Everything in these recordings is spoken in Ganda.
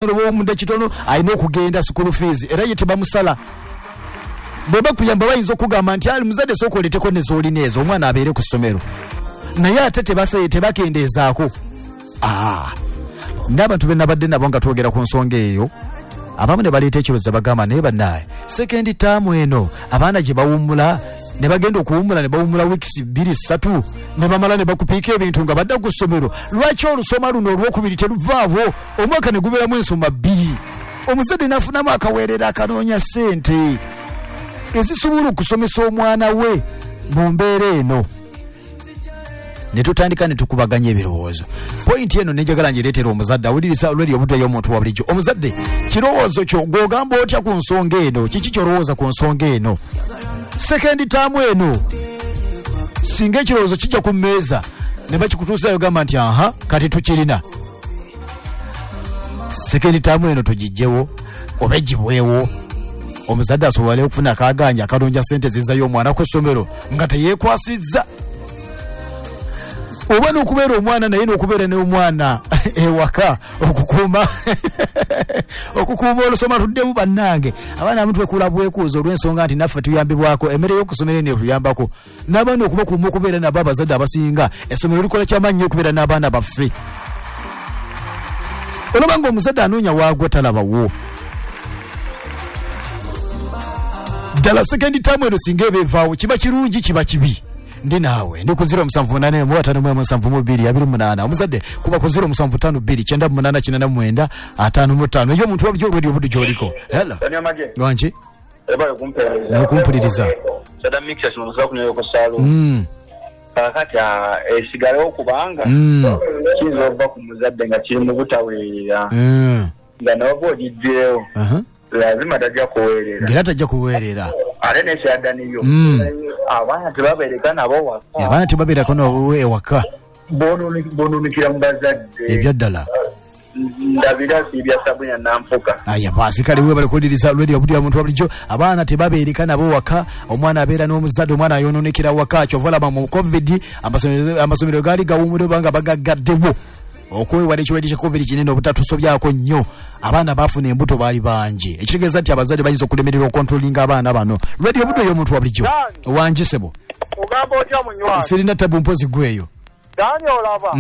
Ow'omunda kitono alina okugenda school fees era ye tebamusala. Bwe bakuyamba bayinza okugamba nti ali muzadde sooka oleeteko ne z'olina ezo omwana abeere ku ssomero, naye ate tebakendeezaako. Ah, n'abantu be nabadde nabo nga twogera ku nsonga eyo, abamu ne baleeta ekirowoozo bagamba naye bannaaye second term eno abaana gye bawummula ne bagenda okuwummula ne bawummula weeks bbiri ssatu ne bamala ne bakupiika ebintu nga badda ku ssomero. Lwaki olusoma luno olwokubiri teruvaawo omwaka ne gubeeramu ensoma bbiri, omuzadde n'afunamu akaweerero akanoonya ssente ezisobola okusomesa omwana we mu mbeera eno? Ne tutandika ne tukubaganya ebirowoozo. Pointi eno nenjagala ngireetera omuzadde awuliriza olweri obudde y'omuntu wa bulijjo. Omuzadde, kirowoozo kyo gw'ogamba otya ku nsonga eno? Kiki ky'olowooza ku nsonga eno? Second term eno singa ekirowoozo kijja ku mmeeza ne bakikutuusaayo gamba nti aha kati tukirina. Second term eno tugijjewo oba egibwewo, omuzadde asobole okufuna akaganja akalonja sente zizzayo omwana ku ssomero nga teyeekwasizza, oba n'okubeera omwana naye n'okubeera n'omwana ewaka okukuuma okukuuma olusoma tuddemu. Bannange abaana abamu twekuula bwekuuza olw'ensonga nti naffe tuyambibwako emmere y'okusomero eno etuyambako n'abaana okubakuuma okubeera nabo. Abazadde abasinga essomero likola kyamaanyi nnyo okubeera n'abaana baffe. Olaba ng'omuzadde anoonya waagwa talabawo ddala. Second term eno singa eba evaawo kiba kirungi, kiba kibi? Ndi naawe, ndi ku 0781 51 72 28. Omuzadde kuba ku 0752 98 89 55. Eyo omuntu wabulijjo olwedi obuddu gy'oliko. Hello. Daniel Magye. Wangi. Ebale kumpeereza. Nokumpuliriza. Sada mixture kino musobola kunywera ku saaluuni. Kaakati esigalewo kubanga kiyinza okuva ku muzadde nga kiri mu butaweerera. Nga n'oba ogiggyeewo lazima tajja kuweerera. Ng'era tajja kuweerera. Ate n'ekirala Daniyo, abaana tebabeereka nabo waka. Abaana tebabeerako nabo ewaka. Boonoonikira mu bazadde. Ebya ddala. Ndabira Siibya Sabrina Nampuka. Aya basi kale webale kuwuliriza radio obudde omuntu wabulijjo. Abaana tebabeereka nabo waka, omwana abeera n'omuzadde, omwana ayonoonekera waka. Kyova olaba mu covid amasomero gaali gawummudde oba nga bagaggaddewo okwewala ekirwadde kya covid kinene obutatusobyako nnyo. Abaana baafuna embuto baali bangi, ekitegeeza nti abazadde bayinza okulemererwa okontrolinga abaana bano. Radio obudde ey'omuntu wabulijjo. Wangi sebo. Ogamba otya munywanyi? Sirina tabu mpozi gweyo. Dani olaba?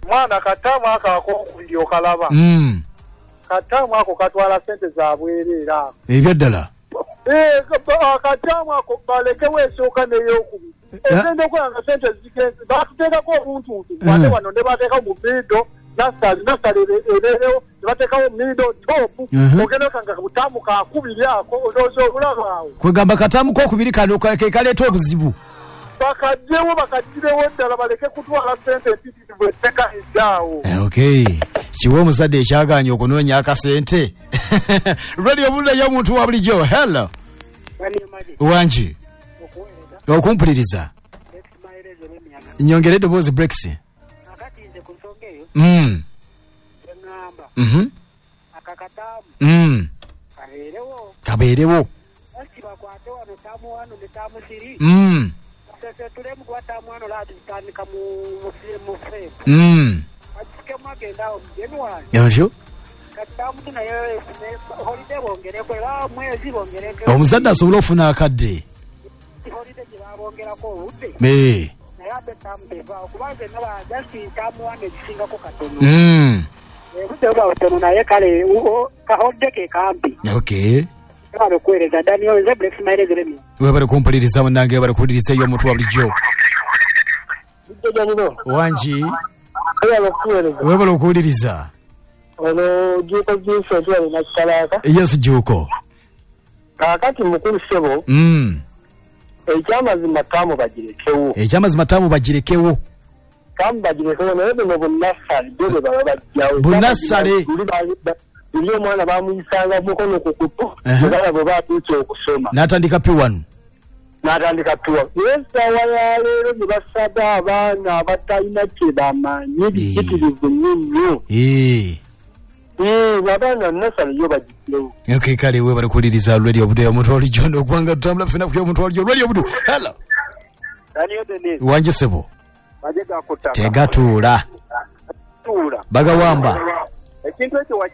Mwana kataamu ako akokubiri okalaba? Kataamu ako katwala sente za bwereere ako. Ebya ddala. Eeh akataamu ako balekewo esooka n'eyokubiri. Ogenda okulaba nga sente zigenze. Batuteekaku obuntuntu ate wano ne bateekawo mu middle, nasale, nasale ebeerewo ne bateekawo middle, top. Ogenda okanga butaamu kakubiri ako ndowooza obulaba awo. Kwegamba kataamu kokubiri kano ke kaleeta obuzibu. Bakagyewo bakagirewo ddala baleke kutwala sente mpitirivu etekanidde agho. Okay. Kiwe omuzadde ekyagaanye okunoonya akasente. Radio Bunda y'omuntu wa bulijjo. Hello. Wangi. Okumpuliriza. Nyongere eddoboozi Brex. Kabeerewo. Otyo. Omuzadde asobole ofuna akadde. Ee. Okay. Webale kumpuliriza munange, webale kuwuliriza eyo omuntu wa bulijjo. Wangi. Webale okuwuliriza. Ono Juuko Vincent wano Nakikalaaka. Yes Juuko. Kaakati mukulu ssebo, ekyamazima ttaamu bagirekewo. Ekyamazima ttaamu bagirekewo. Ttaamu bagirekewo naye buno bunassale byo bwe baba baggyawo. Bunassale. Luli omwana baamuyisanga mukono ku kutu ne balaba oba atuuse okusoma. N'atandika P1. N'atandika P1. Naye essaawa ya leero ne basaba abaana abatalina kye bamanyi biyitirivu nnyo nnyo. Abaana nasale yo bagigyewo. Okay, kale webale kuwuliriza Radio Obudu omuntu walijjo n'okuba nga tutambula ffena ku omuntu walijjo Radio Obudu. Hello. Daniel Denis. Wangi ssebo. Magye ga ku ttaka. Tegatuula. Tuula. Bagawamba. Ekintu ekyo.